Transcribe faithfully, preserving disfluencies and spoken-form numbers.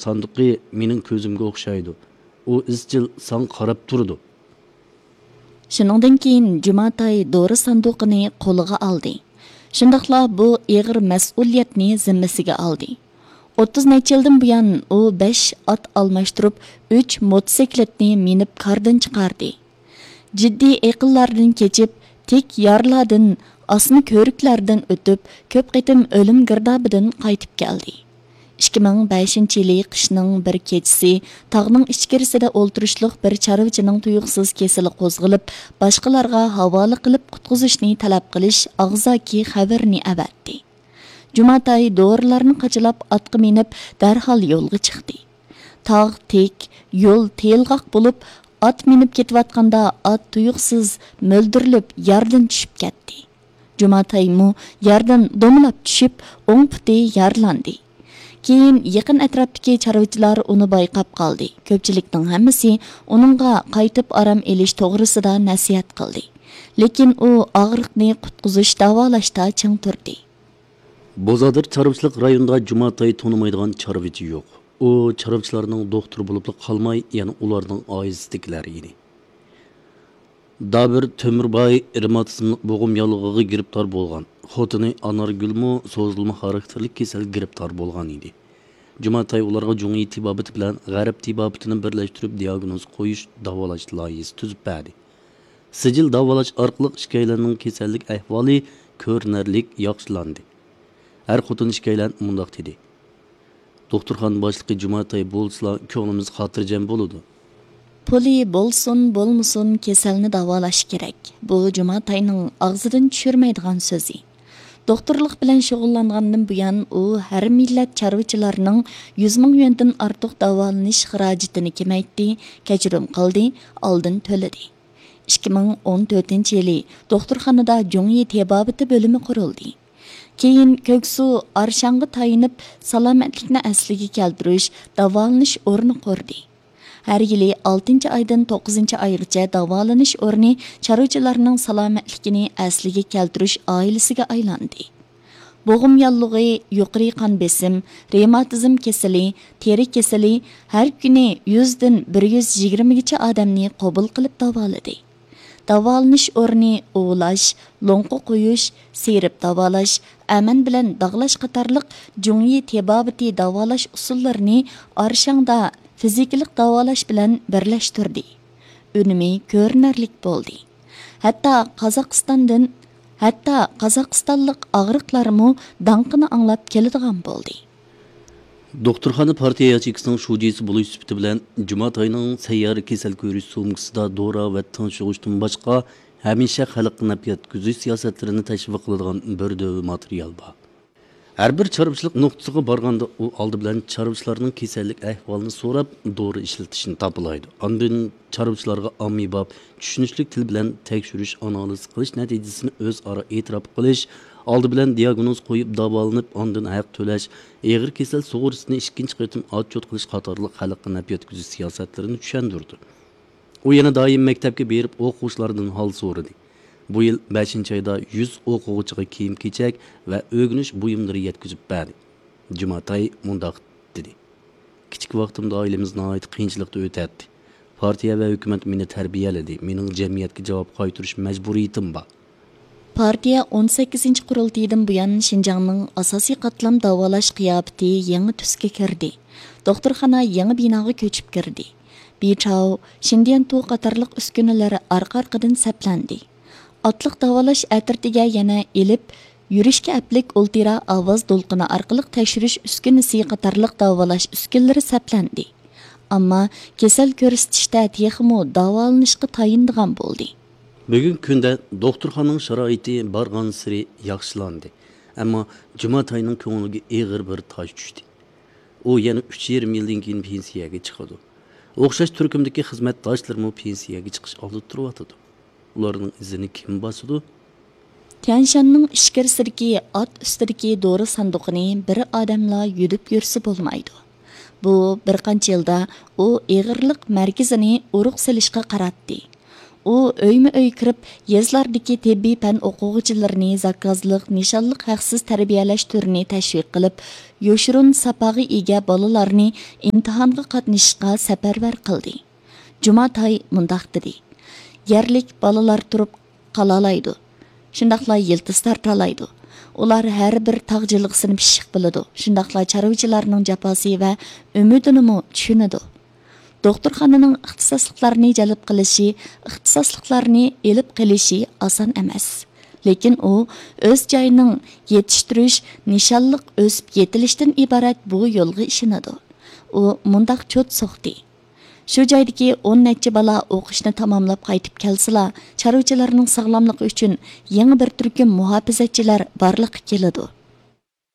ساندۇقى مېنىڭ كۆزۈمگە ئوخشايدۇ. ئۇ ئىزچىل ساڭا قاراپ تۇرىدۇ. شۇنىڭدىن كېيىن جۇماتاي دورا ساندۇقىنى قولىغا ئالدى. شۇنداقلا بۇ ئېغىر مەسئۇلىيەتنى زىممىسىگە ئالدى. ئوتتۇز نەچچە يىلدىن بۇيان ئۇ بەش ئات ئالماشتۇرۇپ، ئۈچ موتوسىكلىتنى مىنىپ كاردىن چىقاردى. جىددىي ئېقىنلاردىن كېچىپ، تىك يارلاردىن، ئاسما كۆۋرۈكلەردىن ئۆتۈپ، كۆپ قېتىم ئۆلۈم گىردابىدىن قايتىپ كەلدى. ئىككى مىڭ بەشىنچى يىلى قىشنىڭ بىر كېچىسى تاغنىڭ ئىچكىرىسىدە ئولتۇرۇشلۇق بىر چارۋىچىنىڭ تۇيۇقسىز كېسىلى قوزغىلىپ، باشقىلارغا ھاۋالە قىلىپ قۇتقۇزۇشنى تەلەپ قىلىش ئاغزاكى خەۋىرىنى ئەۋەتتى. جۇماتاي دورىلارنى قاچىلاپ ئاتقا مىنىپ، دەرھال يولغا چىقتى. تاغ تىك، يول تېيىلغاق بولۇپ، ئات مىنىپ كېتىۋاتقاندا ئات تۇيۇقسىز مۆلدۈرلۈپ ياردىن چۈشۈپ كەتتى. جۇماتايمۇ ياردىن دومىلاپ چۈشۈپ، ئوڭ پۇتى يارىلاندى. كېيىن يېقىن ئەتراپتىكى چارۋىچىلار ئۇنى بايقاپ قالدى. كۆپچىلىكنىڭ ھەممىسى ئۇنىڭغا قايتىپ ئارام ئېلىش توغرىسىدا نەسىھەت قىلدى. لېكىن ئۇ ئاغرىقنى قۇتقۇزۇش، داۋالاشتا چىڭ تۇردى. بوزادىر چارۋىچىلىق رايونىدا جۇماتاي تونۇمايدىغان چارۋىچى يوق. ئۇ چارۋىچىلارنىڭ دوختۇرى بولۇپلا قالماي، يەنە ئۇلارنىڭ ئائىلىسىدىكىلەر ئىدى. دابىر تۆمۈرباي رېماتىزملىق بوغۇم ياللۇغىغا گىرىپتار بولغان. خوتۇنى ئانارگۈلمۇ سوزۇلما خاراكتېرلىك كېسەلگە گىرىپتار بولغان ئىدى. جۇماتاي ئۇلارغا جۇڭيى تېبابىتى بىلەن غەرب تېبابىتىنى بىرلەشتۈرۈپ دىياگنوز قويۇش، داۋالاش لايىھىسى تۈزۈپ بەردى. سىجىل داۋالاش ئارقىلىق ئىككىيلەننىڭ كېسەللىك ئەھۋالى كۆرۈنەرلىك ياخشىلاندى. ئەر خوتۇن ئىككىيلەن مۇنداق دېدى: «دوختۇرخانا باشلىقى جۇماتاي بولسىلا، كۆڭلىمىز خاتىرجەم بولىدۇ.» پۇلى بولسۇن، بولمىسۇن، كېسەلنى داۋالاش كېرەك. بۇ جۇماتاينىڭ ئاغزىدىن چۈشۈرمەيدىغان سۆزى. دوختۇرلۇق بىلەن شۇغۇللانغاندىن بۇيان، ئۇ ھەر مىللەت چارۋىچىلارنىڭ يۈز مىڭ يۈەندىن ئارتۇق داۋالىنىش خىراجىتىنى كېمەيتتى، كەچۈرۈم قىلدى، ئالدىن تۆلىدى. ئىككى مىڭ ئون تۆتىنچى يىلى دوختۇرخانىدا جۇڭيى تېبابىتى بۆلۈمى قۇرۇلدى. كېيىن كۆكسۇ ئارشاڭغا تايىنىپ، سالامەتلىكنى ئەسلىگە كەلتۈرۈش، داۋالىنىش ئورنى قۇردى. ھەر يىلى ئالتىنچى ئايدىن توققۇزىنچى ئايغىچە داۋالىنىش ئورنى چارۋىچىلارنىڭ سالامەتلىكىنى ئەسلىگە كەلتۈرۈش ئائىلىسىگە ئايلاندى. بوغۇم ياللۇغى، يۇقىرى قان بېسىم، رېماتىزم كېسىلى، تېرە كېسىلى ھەر كۈنى يۈزدىن بىر يۈز يىگىرمىگىچە ئادەمنى قوبۇل قىلىپ داۋالىدى. داۋالىنىش ئورنى ئۇۋۇلاش، لوڭقا قويۇش، سىيرىپ داۋالاش، ئەمەن بىلەن داغلاش قاتارلىق جۇڭيى تېبابىتى داۋالاش ئۇسۇللىرىنى ئارشاڭدا فىزىكىلىق داۋالاش بىلەن بىرلەشتۈردى. ئۈنۈمى كۆرۈنەرلىك بولدى. ھەتتا قازاقىستاندىن، ھەتتا قازاقىستانلىق ئاغرىقلارمۇ داڭقىنى ئاڭلاپ كېلىدىغان بولدى. دوختۇرخانا پارتىيە ياچېيكىسىنىڭ شۇجىسى بولۇش سۈپىتى بىلەن، جۇماتاينىڭ سەييارە كېسەل كۆرۈش سومكىسىدا دورا ۋە تىڭشىغۇچتىن باشقا، ھەمىشە خەلققە نەپ يەتكۈزۈش سىياسەتلىرىنى تەشۋىق قىلىدىغان بىر دۆۋە ماتېرىيال بار. ھەر بىر چارۋىچىلىق نۇقتىسىغا بارغاندا، ئۇ ئالدى بىلەن چارۋىچىلارنىڭ كېسەللىك ئەھۋالىنى سوراپ، دورا ئىشلىتىشنى تاپىلايدۇ. ئاندىن چارۋىچىلارغا ئاممىباب، چۈشىنىشلىك تىل بىلەن تەكشۈرۈش، ئانالىز قىلىش نەتىجىسىنى ئۆزئارا ئېتىراپ قىلىش، ئالدى بىلەن دىياگنوز قويۇپ داۋالىنىپ، ئاندىن ھەق تۆلەش، ئېغىر كېسەل سۇغۇرتىسىنى ئىككىنچى قېتىم ئاتچوت قىلىش قاتارلىق خەلققە نەپ يەتكۈزۈش سىياسەتلىرىنى چۈشەندۈردى. ئۇ يەنە دائىم مەكتەپكە بېرىپ ئوقۇغۇچىلاردىن ھال سورىدى. بۇ يىل بەشىنچى ئايدا يۈز ئوقۇغۇچىغا كىيىم-كېچەك ۋە ئۆگىنىش بۇيۇملىرى يەتكۈزۈپ بەردى. جۇماتاي مۇنداق دېدى: «كىچىك ۋاقتىمدا ئائىلىمىز ناھايىتى قىيىنچىلىقتا ئۆتەتتى. پارتىيە ۋە ھۆكۈمەت مېنى تەربىيەلىدى، مېنىڭ جەمئىيەتكە جاۋاب قايتۇرۇش مەجبۇرىيىتىم بار.» پارتىيە ئون سەككىزىنچى قۇرۇلتىيىدىن بۇيان شىنجاڭنىڭ ئاساسىي قاتلام داۋالاش قىياپىتى يېڭى تۈسكە كىردى. دوختۇرخانا يېڭى بىناغا كۆچۈپ كىردى. بىچاۋ، شىندىيەنتۇ قاتارلىق ئۈسكۈنىلەر ئارقا-ئارقىدىن سەپلەندى. ئاتلىق داۋالاش ئەترىتىگە يەنە ئېلىپ يۈرۈشكە ئەپلىك ئۇلترا ئاۋاز دولقۇنى ئارقىلىق تەكشۈرۈش ئۈسكۈنىسى قاتارلىق داۋالاش ئۈسكۈنىلىرى سەپلەندى. ئەمما كېسەل كۆرسىتىشتە تېخىمۇ داۋالىنىشقا تايىنىدىغان بولدى. بۈگۈنكى كۈندە دوختۇرخانىنىڭ شارائىتى بارغانسېرى ياخشىلاندى، ئەمما جۇماتاينىڭ كۆڭلىگە ئېغىر بىر تاش چۈشتى. ئۇ يەنە ئۈچ يېرىم يىلدىن كېيىن پېنسىيەگە چىقىدۇ. ئوخشاش تۈركۈمدىكى خىزمەتداشلىرىمۇ پېنسىيەگە چىقىش ئالدىدا تۇرۇۋاتىدۇ. ئۇلارنىڭ ئىزىنى كىم باسىدۇ؟ تيەنشاننىڭ ئىچكىرىسىدىكى ئات ئۈستىدىكى دورا ساندۇقىنى بىر ئادەملا يۈدۈپ يۈرسە بولمايدۇ. بۇ بىر قانچە يىلدا ئۇ ئېغىرلىق مەركىزىنى ئۇرۇق سېلىشقا قاراتتى. ئۇ ئۆيمۇ ئۆي كىرىپ، يېزىلاردىكى تېببىي پەن ئوقۇغۇچىلىرىنى زاكازلىق، نىشانلىق ھەقسىز تەربىيەلەش تۈرىنى تەشۋىق قىلىپ، يوشۇرۇن ساپاغا ئىگە بالىلارنى ئىمتىھانغا قاتنىشىشقا سەپەرۋەر قىلدى. جۇماتاي مۇنداق دېدى: يەرلىك بالىلار تۇرۇپ قالالايدۇ، شۇنداقلا يىلتىز تارتالايدۇ. ئۇلار ھەر بىر تاغ جىلغىسىنى پىششىق بىلىدۇ، شۇنداقلا چارۋىچىلارنىڭ جاپاسى ۋە ئۈمىدىنىمۇ چۈشىنىدۇ. دوختۇرخانىنىڭ ئىختىساسلىقلارنى جەلپ قىلىشى، ئىختىساسلىقلارنى ئېلىپ قېلىشى ئاسان ئەمەس. لېكىن ئۇ ئۆز جايىنىڭ يېتىشتۈرۈش، نىشانلىق ئۆسۈپ يېتىلىشتىن ئىبارەت بۇ يولغا ئىشىنىدۇ. ئۇ مۇنداق چوت سوقتى: شۇ جايدىكى ئون نەچچە بالا ئوقۇشنى تاماملاپ قايتىپ كەلسىلا، چارۋىچىلارنىڭ ساغلاملىقى ئۈچۈن يېڭى بىر تۈركۈم مۇھاپىزەتچىلەر بارلىققا كېلىدۇ.